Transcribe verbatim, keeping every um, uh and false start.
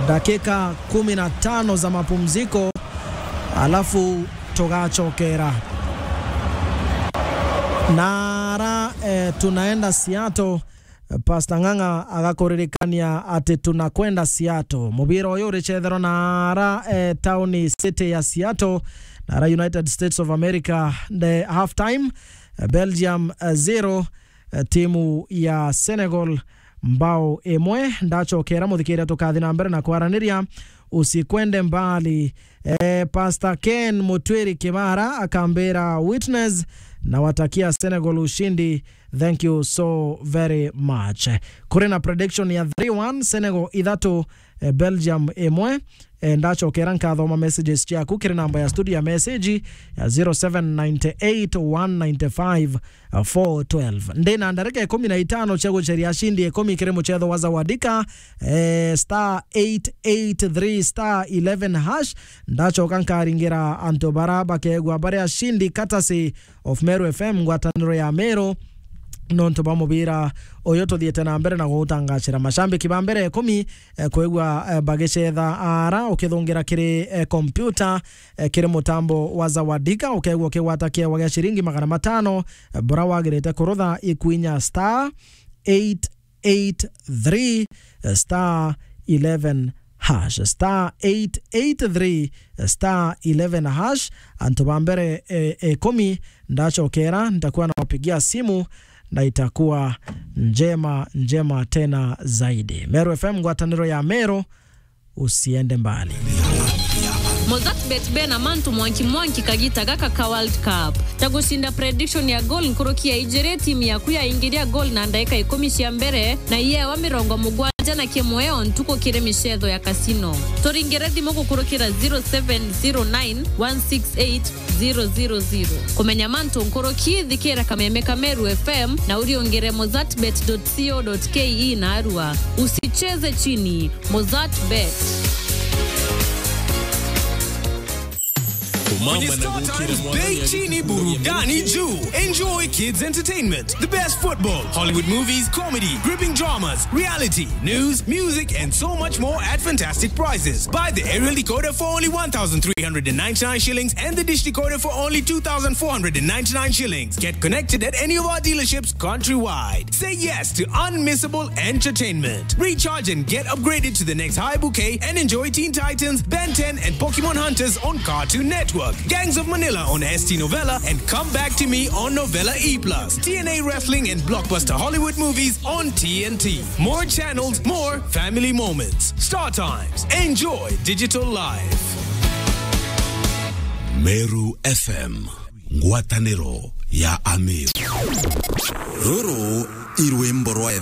Dakika kumi na tano za mapumziko, alafu tugacokera. Nara, eh, tunaenda Seattle. Pastor Ng'ang'a agakuririkania ati tunakwenda Seattle. Mubira uyu uricetherwa nara, eh, tauni city ya Seattle, nara United States of America, the half time, eh, Belgium, eh, zero, eh, timu ya Senegal mbao imwe. Ndacokera muthikiria tukathi na mbere na kwaraniria, usikwende mbali. Eh, Pastor Ken Mutwiri Kibara akambira, "Witness, nawatakia Senegal ushindi." Thank you so very much. Kuri na prediction ya three one, Senegal ithatu, eh, Belgium imwe. Eh, ndacokera nkathoma messages ciaku kiri namba ya studio ya message ya zero seven nine eight one nine five four twelve. Ndi na ndarika ikumi na itano cia guceria ashindi ikumi kiri mucetho wa Zawadika, eh, star eight eight three star eleven hash. Ndacoka nkaringira antu bara bakegwa bari ashindi courtesy of Meru F M, ngwataniro ya Meru, nontu bwa mubira uyu tuthiite na mbere na gugutangacira. Macambiki ba mbere ikumi, eh, kwigua, eh, bagicetha ara ukithungira kiri, eh, kompyuta, eh, kiri mutambo wa Zawadika, ukegua ukigwata kiewa gia ciringi magana matano, eh, bura wagirite kurutha ikwinya star eight eight three star eleven hash, star eight eight three star eleven hash. Antu ba mbere, eh, ikumi ndacokera, nitakuwa nawapigia simu na itakuwa njema, njema tena zaidi. Meru F M, ngwataniro ya Meru, usiende mbali. Mozart Bet bena mantu mwanki mwanki kagita gaka ka World Cup. Ta gucinda prediction ya goal nkuruki ya ijiri, timu yaku yaingiria goal na ndaika ikumi cia mbere, na iyewa mirongo mugwanja na kimwe o ntuku kiri micetho ya casino. Turingire thimu gukurukira zero seven zero nine one six eight zero zero zero. Kumenya mantu nkuruki, thikira kameme ka Meru F M na uriungire mozart bet dot co dot ke na arua. Usicheze chini. Mozart Bet. Kwenye Star Times, bei chini, burudani juu. Enjoy kids entertainment, the best football, Hollywood movies, comedy, gripping dramas, reality, news, music, and so much more at fantastic prices. Buy the aerial decoder for only one thousand three hundred and ninety-nine shillings and the dish decoder for only two thousand four hundred and ninety-nine shillings. Get connected at any of our dealerships countrywide. Say yes to unmissable entertainment. Recharge and get upgraded to the next high bouquet and enjoy Teen Titans, Ben ten, and Pokemon Hunters on Cartoon Network, Gangs of Manila on S T Novella, and Come Back to Me on Novella E plus, T N A Wrestling and blockbuster Hollywood movies on T N T. More channels, more family moments. Star Times. Enjoy digital life. Meru F M. Ngwataniro ya Ameru. Ruru i rwimbo rwa